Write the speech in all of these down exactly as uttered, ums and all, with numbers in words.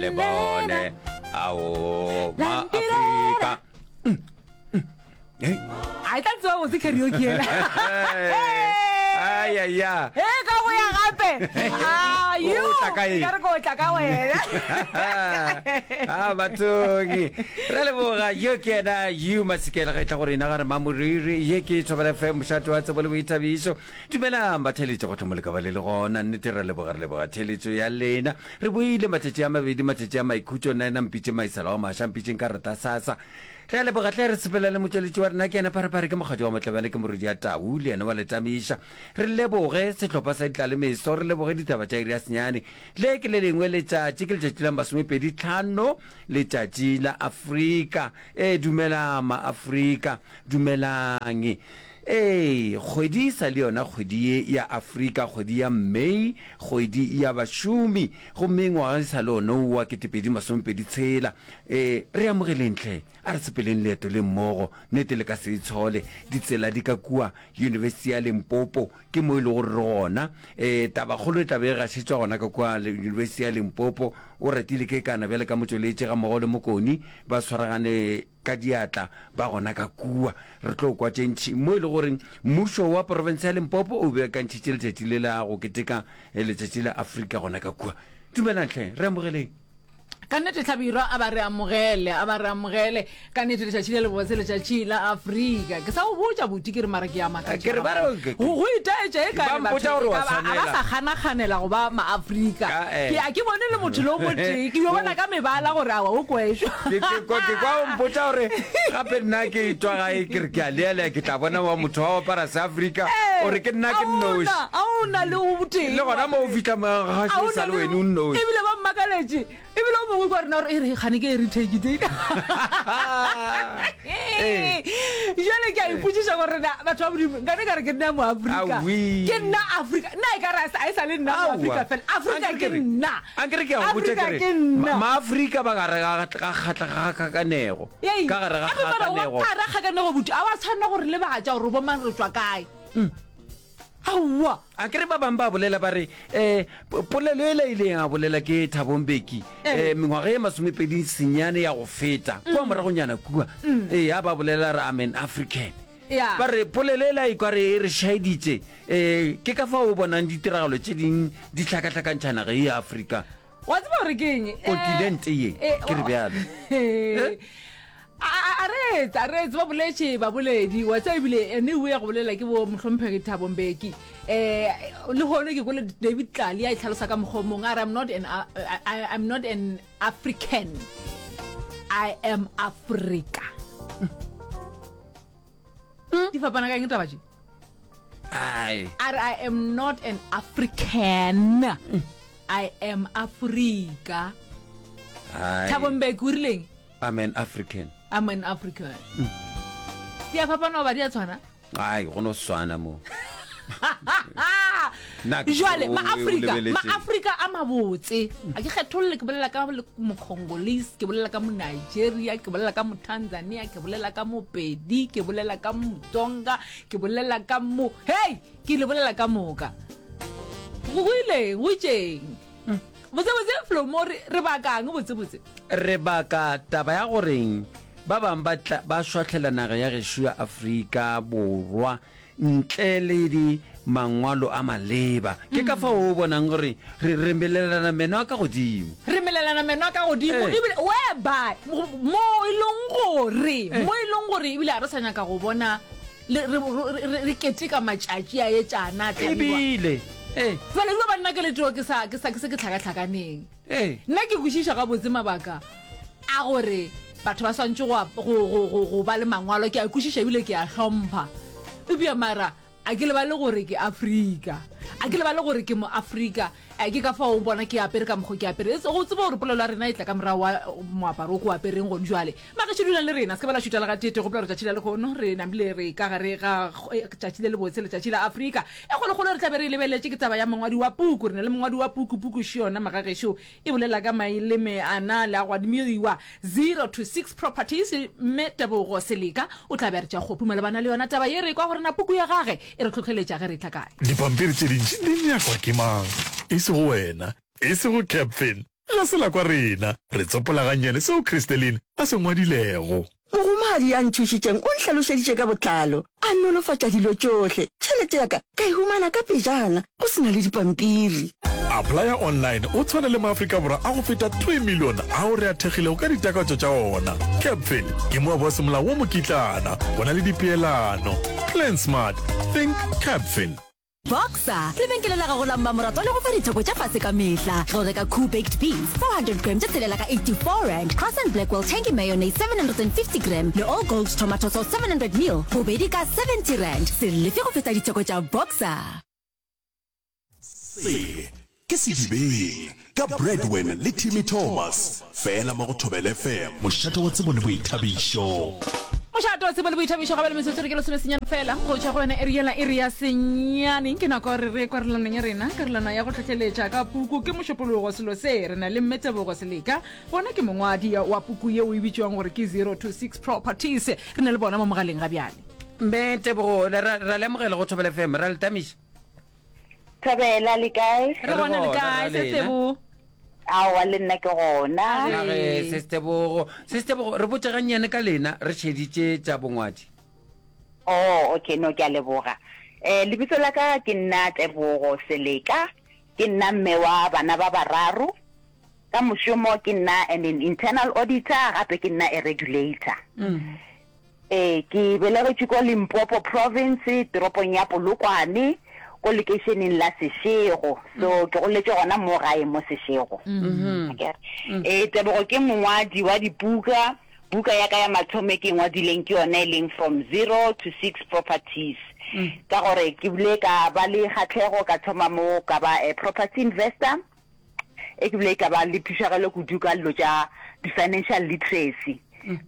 Le bone ao ma Afrika. A e tla tseba botse karaoke ela. Ai ai ya. E ka go ya gape. Ah, you. O tla ka eng? Ka re ko tla ka wena. Ah, bathong. Re leboga yo ke yena you Masikela ge e tla go rena ga re Mamoriri ye ke Thobela F M mošate wa tsebo le boithabišo. Dumelang batheeletši gohle mo le ka ba le le gona. Nnete re leboga re leboga theeletšo ya lena. Re boile matšatši a mabedi matšatši a maikhutšo nna ena mpitše Maisela wa Maša mpitšeng ka reta sasa. Re a leboga hle re sepela le motšweletši wa rena ke yena Pharephare ke mokgadi wa Motlabane ke morwedi ya Tau le yena wa Letamiša. Re leboge sehlopha sa Ditlalemeso re leboge ditaba tša iri ya senyane. Le ke le lengwe letšatši ke letšatši la masomepedi tlhano letšatši la Afrika. Ee dumelang maAfrika dumelang. Ee kgwedi e sa le yona kgwedi ye ya Afrika kgwedi ya May kgwedi ya bašomi gomme ngwaga e sa le ona wa ketepedi masomepedi tshela. Ee re amogeleng hle a re sepeleng leeto le mmogo nnete le ka se itshole ditsela di ka kua Yunibesithi ya Limpopo ke mo e le gore re gona. Ee tabakgolo e tla be e gašetšwa gona ka kua Yunibesithi ya Limpopo. O ratile ke kana bjale ka motšweletši ga mmogo le Mokoni ba swaragane ka diatla ba gona ka kua. Re tlo kwa tše ntši mo e le gore mmušo wa profense ya Limpopo o beakantšhitše letšatši le la go keteka letšatši la Afrika gona ka kua. Dumelang hle, re amogeleng. Ka nnete Hlabirwa a ba re amogele, a ba re amogele. Ka nnete letšatši le lebotse, letšatši la Afrika. Ke sa go botša buti ke re mara ke a makatša. Ke re ba re go go itaetša e ka re batho e ka ba a ba sa kganakganela go ba Maafrika. Ke a ke bone le motho le o motee, ke yo bona ka mebala gore awa o kwešwa. Ke ke kwa ke kwa o mpotša gore gape nna ke tšwa gae ke re ke a lealea ke tla bona wa motho wa apara Seafrika o re ke nna ke nnoši. A o na le o tee. Le gona mo o fihla gašo e sa le wena o nnoši. Ebile ba mmakaletše. Ebile o mongwe kwa rena gore e re gane ke heritage day. Jale ke a ipotšiša gore na batho ba Modimo nkane ka re ke nna Moafrika. Ke nna Afrika. Nna e ka re a e sa le nna Moafrika fela. Afrika ke nna. Ankere ke a go botša ke re Maafrika ba gare ga ga kgakanego. Ka gare ga kgakanego. Ka gare ga kgakanego buti. A wa tshwanela gore lebatša gore bo mang re tšwa kae. Aowa. A ke re ba bangwe ba bolela ba re, um polelo ela e ileng a bolela ke Thabo Mbeki um mengwaga ye masomepedi senyane ya go feta, kua moragonyana kua, ee, a ba bolela re I'm an African. Ya. Ba re polelo ela e kwa re e re šaeditše, um ke ka fao o bonang ditiragalo tše ding di hlakahlakantšha naga ye ya Afrika. Wa tseba gore ke eng? Kontinente ye, ke re bjalo. A reetse, a reetse, ba boletše baboledi, wa tseba ebile ene o ya go bolela ke bo mohlomphegi Thabo Mbeki. Eh, le hono ke kwele David Tlali a itlhalosa ka mokgwa o mongwe, a re I'm not an, I, I'm not an African, I am Africa. Di fapana ka eng taba tše? Ai. A re I am not an African, I am Africa. Ai. Thabo Mbeki o rileng? I'm an African. I'm an African. Di a fapana goba di a tshwana? Ai, go no swana mo. Nna ke Jwale, o- o Maafrika, lebeletše. Maafrika a mabotse. A ke kgetholle, ke bolela ka le- Mocongolese, ke bolela ka Monigeria, ke bolela ka Motanzania, ke bolela ka Mopedi, ke bolela ka Motsonga, ke bolela ka mo... Hei, ke le bolela ka moka. Go go ileng, go itšeng. Botse botse Flomo re re bakang botse botse? Re baka taba ya goreng ba bang ba tla ba šwahlela naga ya gešo ya Afrika Borwa ntle le di mangwalo a maleba. Ke ka fao o bonang gore re re melelana meno a ka godimo. Re melelana meno a ka godimo Eh. ebile whereby mo e leng gore Eh. mo e leng gore ebile ga re sa nyaka go bona le re re re keteka matšatši a etšana a thabiwa. Ebile eh. Jwale ebile ba nna ke le too ke sa ke sa ke se ke hlakahlakaneng. Eh. Nna ke kwešiša gabotse mabaka a gore batho ba swantše go go go go go ba le mangwalo, ke a kwešiša ebile ke a hlompha. Eupša mara a ke lebale gore ke Afrika. A ke lebale gore ke Moafrika. A ke ka fao o bona ke apere ka mokgo ke apere. Go tseba gore polelo ya rena e tla ka morago wa moaparo o ke o apereng gone jwale. Magešo dulang le rena, se ke ba la šuta le gatee. Gopola gore tšatši la lehono re namile re ka gare ga tšatši le lebotse, letšatši la Afrika. E kgolokgolo re tla be re e lebeletše ke taba ya mongwadi wa puku. Re na le mongwadi wa puku, puku še yona magagešo e bolela ka maeleme ana le a go adimiwa zero to six properties. Mme Tebogo Seleka o tla be a re tšea kgopu malebana le yona taba ye. Re kwa gore na puku ya gage e re hlohleletša ge re etla kae. Dipampiri tše dintši di nyakwa ke mang? E sego wena, e sego Capfin, Ga se la kwa rena, re tsopola gannyane seo Christeline a se ngwadilego. Mogomadi ya nthušitšeng o nhlalošeditše ka botlalo, a nolofatša dilo tšohle. Tšhelete ya ka ka e humana ka pejana, go se na le dipampiri. Applya online o tshwane le maAfrika Borwa a go feta three million ao re a thekgilego ka ditakatšo tša ona. Capfin ke moabi wa semolao wa mokitlana, go na le dipeelano. Plan smart, think Capfin. Boxer, lebenkele la gago la mmamoratwa le go fa ditheko tša fase ka mehla. Ge o reka Koo Baked Beans four hundred gram tše tshelela ka eighty four rand, Cross and Blackwell Tangy Mayonnaise seven hundred and fifty gram le All Gold Tomato Sauce seven hundred mil bobedi ka seventy rand. Se lefe go feta ditheko tša Boxer. Se ke Sedibeng ka Bradwin le Timmy Thomas, fela mo go Thobela F M, mošate wa tsebo le boithabišo. Mošate wa tsebo le boithabišo, ga bjale metsotso re ke lesomesenyane fela go tšwa go yona iri yela, iri ya senyane. Ke nako ya gore re ye kwarelwanong ya rena, karolwana ya go hlohleletša ka puku ke Mošupologo. Selo se re na le Mme Tebogo Seleka, bona ke mongwadi wa puku yeo e bitšwang gore ke Zero to Six Properties. Re na le bona mo mogaleng ga bjale. Mme Tebogo, ra, ra le amogela go Thobela F M, ra le tamiša. Thobela, le kae? Re gona, le kae, Re gona, Sestebogo? Aowa, le nna ke gona. A re, Sestebogo. Sestebogo, re botše gannyane ka lena, re šeditše tša bongwadi. Oh, okay, no, ke a leboga. Eh, lebitso la ka ke nna Tebogo Seleka, ke nna mme wa bana ba bararo. Ka mošomo ke nna an internal auditor, gape ke nna a regulator. Ee, ke belegetšwe ko Limpopo Province, toropong ya Polokwane, ko lekeišeneng la Seshego. So ke goletše gona mo gae mo Seshego. Akere? Ee, Tebogo ke mongwadi wa dibuka. Buka ya ka ya mathomo e ke e ngwadileng ke yona e leng From Zero to Six Properties. Ka gore ke bile ka ba le kgahlego ka thoma mo ka ba a property investor. E ke bile ka ba le phišagelo kudu ka dilo tša di-financial literacy,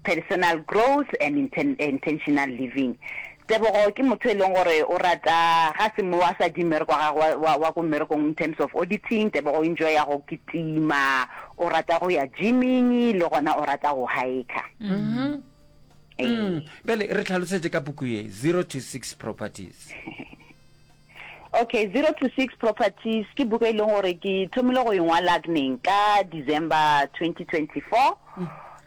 personal growth and intentional living. Tebogo ke motho e leng gore o rata ga se mo a sa di mmereko wa gagwe wa, wa ko mmerekong in terms of auditing. Tebogo o enjoya go kitima, o rata go ya gymming le gona o rata go hiker. Ee. Bjale re hlalosetše ka puku ye, Zero to Six Properties. Okay, Zero to Six Properties ke buka e leng gore ke thomile go e ngwala neng ka December twenty twenty-four,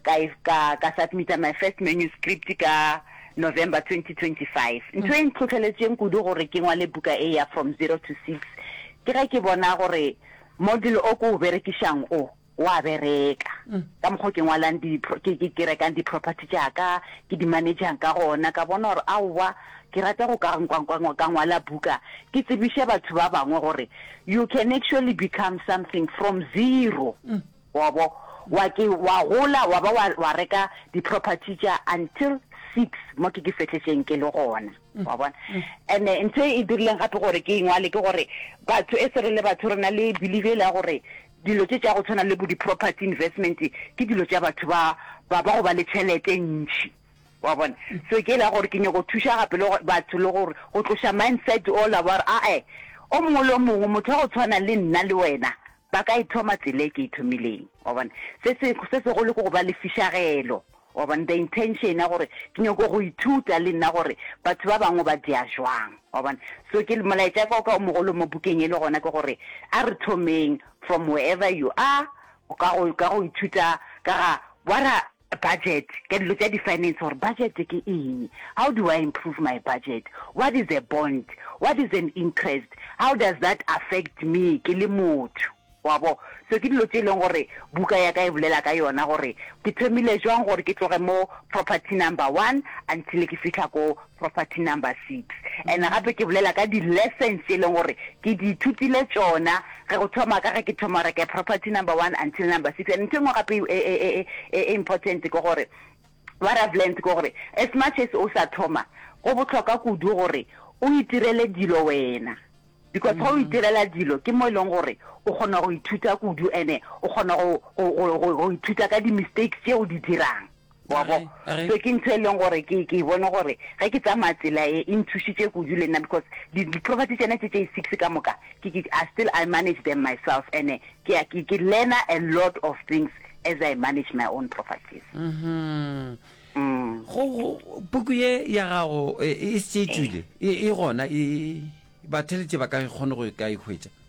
ka e, ka, ka submita my first manuscript ka November twenty twenty-five. Ntho e ntlhohleletšeng kudu gore ke ngwale buka e ya From Zero to Six ke ge ke bona gore model o ke o berekišang o wa bereka. Ka mokgwa o ke ngwalang di, ke, ke, ke rekang di-property tša ka, ke di manage-ang ka gona, ka bona gore aowa, ke rata go ka, ka, ka, ka ngwala buka, ke tsebiše batho ba bangwe gore you can actually become something from zero. Wa bo, wa ke, wa gola, wa ba wa, wa reka di-property tša until six, mo ke ke fehletšeng ke le gona. Wa bona? And-e ntho e dirileng gape gore ke e ngwale ke gore batho, e se re le batho re na le belief e le ya gore dilo tše tša go tshwana le bo di-property investment ke dilo tša batho ba, ba, ba go ba le tšhelete e ntši. Wa bona? So ke la gore ke nyako thuša gape le batho le gore go tloša mindset ola wa gore ae, o mongwe le o mongwe motho wa go tshwana le nna le wena ba ka e thoma tsela e ke e thomileng. Wa bona? Se se, se segolo ke go ba le fišagelo. Wa bona? The intention ya gore ke nyako go ithuta le nna gore batho ba bangwe ba dira jwang. Wa bona? So ke molaetša ka o mogolo mo bukeng e le gona ke gore a re thomeng from wherever you are, ka go, ka go ithuta ka ga what are budget, ka dilo tša di-finance gore budget ke eng, how do I improve my budget, what is a bond, what is an interest, how does that affect me ke le motho. Wa bo? So ke dilo tše e leng gore buka ya ka e bolela ka yona gore ke thomile jwang gore ke tloge mo property number one until ke fihla ko property number six. And gape ke bolela ka di-lessons tše e leng gore ke di ithutile tšona ge go thoma ka ge ke thoma reka property number one until number six. And ntho e nngwe gape e, e, e, e, e important ke gore what I've learned ke gore as much as o sa thoma, go bohlokwa kudu gore o itirele dilo wena. Because ge o itirela dilo ke mo e leng gore o kgona go ithuta kudu, ene o kgona go, go, go, go, go ithuta ka di-mistakes tše o di dirang. Wa bo? So ke ntho e leng gore ke, ke bone gore ge ke tsamaya tsela e, e nthušitše kudu le nna because di, di-property tšena tše tše six ka moka, ke, ke, I still, I manage them myself, ene ke, ke, ke learner a lot of things as I manage my own properties. Mm-hmm. Mm. Go, go, puku ye ya gago e, e se e tšwile, e, e gona, e, batheletše ba ka kgone go ka e hwetša?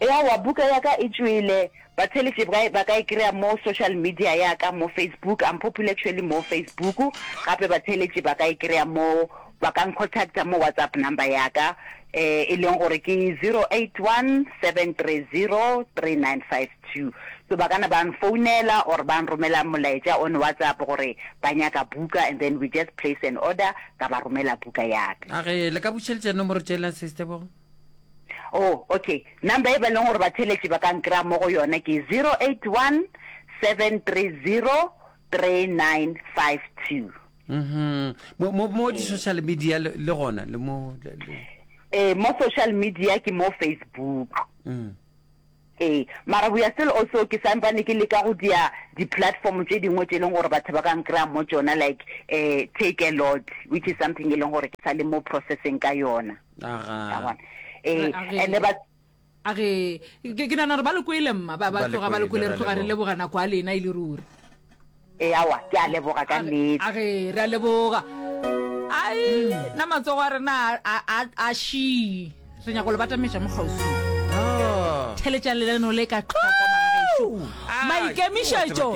Eawa, buka ya ka e tšwele. Batheeletši ba, ba ka e kry-a mo social media ya ka mo Facebook. I'm popular actually mo Facebook. Gape batheeletši ba ka e kry-a mo, ba ka ncontacta mo WhatsApp number ya ka, eh, e leng gore ke zero eight one seven three zero three nine five two. So ba ka na ba nfounela or ba nromela molaetša on WhatsApp gore ba nyaka buka and then we just place an order, ka ba romela buka ya ka. A ge le ka bušeletša nomoro tšela, Sis Tebogo? Oh, okay. Number e ba leng gore batheeletši ba ka nkry-a mo go yona ke zero eight one seven three zero three nine five two. Mhm. Mo mo mo di social media le, le gona le mo le, le. Eh, mo social media ke mo Facebook. Mm. Ee, mara we are still also ke sampane ke leka go dia di platform tše dingwe tše leng gore batho ba ka nkry-a mo tšona like eh Take a Lot which is something e leng gore ke sa le mo processing ka yona. Aga. Wa bona? Ee, A re- and ba A re ke ke nagana gore ba le kwele mma ba ba Ba le tloga ba le kwele, kwele re re a tloga re leboga. leboga nako ya lena e le ruri. Ee, aowa, ke a leboga ka nnete. A re re a leboga. Ai, nna matsogo a rena a a a šii. Re nyaka go le batametša mo kgauswi. Theletšang lenaneo le ka tlhoko magagešo. Maikemišetšo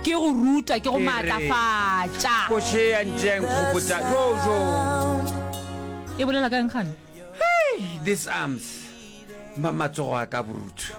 ke go ruta, ke go maatlafatša. Koše ya ntšeng kgopotša jo jo. E bolela ka eng gane? Hey, this arms. Ma matsogo a ka borutho.